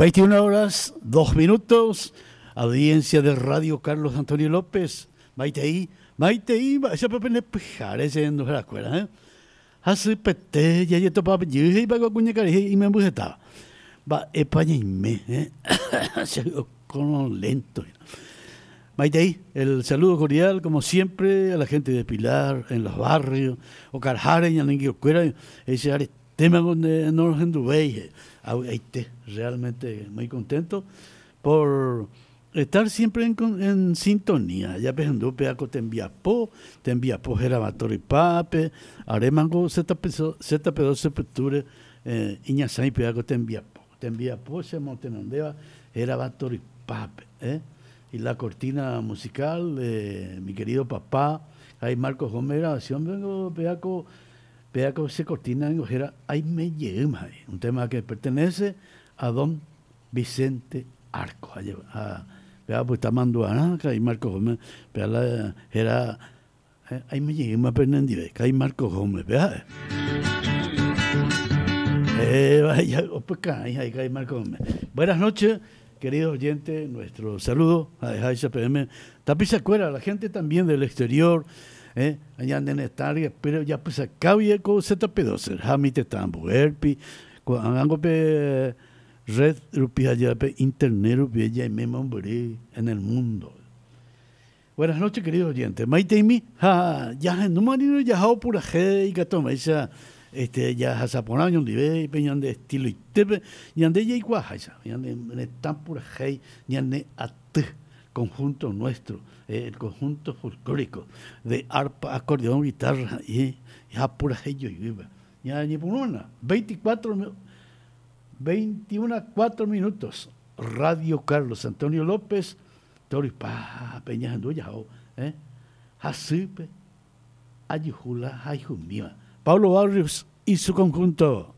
21 horas, 2 minutos, audiencia de Radio Carlos Antonio López, Maitei, Maitei, mba'éichapa pende pyhare che renduharakuéra, eh? Hasypete jajetopa jey he'ipa ko kuñakarai he'i imemby hetáva. Mba'épa ñaime, eh? Che okorõ lento hína. Maitei, el saludo cordial como siempre a la gente de Pilar, en los barrios, okaraháre ñane angirũkuéra he'i che aretéma nde norohenduvéi, avy'aite, realmente muy contento por estar siempre en, en sintonía. Ya pehendu péa ko tembiapo, tembiapo hérava Torypápe, arémango ZP2 Sepytúre iñasãi péa ko tembiapo. Tembiapo che motenondéva hérava Torypápe. Eh? Y la cortina musical de mi querido papá, Jai Marcos Gómez grabación vengo péa ko péa ko che cortina ningo héra Aime Jeýma, un tema que pertenece a don Vicente Arco. Ha péa opyta mandu'arã Ka'i Marcos Gómez, péa la héra Aime jeýma penendive, Ka'i Marcos Gómez, péa ha'e. Vaya, opykarãi ha'e Ka'i Marcos Gómez. Buenas noches, queridos oyentes, nuestro saludo ha'eháicha peẽme tapichakuéra, la gente también del exterior, ñande retã ryepýre ojapysakáguie ko ZP12 ha mi tetã ambuérpi, ko'ág̃ango pe Red rupi ha jepe internet rupi jaime mombyry en el mundo. Buenas noches queridos oyentes. Maiteimi ha jahendúma rire jaha opurahe ikatu hag̃uáicha este jahasa porã oñondive pe ñande estiloitépe ñande jaikuaaháicha ñane retã purahéi ñane aty conjunto nuestro el conjunto folclórico de arpa, acordeón, guitarra y ha purahéi joyvýpe. Ñañepyrũna 24 21 4 minutos Radio Carlos Antonio López Torypápe ñahendu jahóvo eh hasýpe ajuhu la hayhumíva. Pablo Barrios y su conjunto.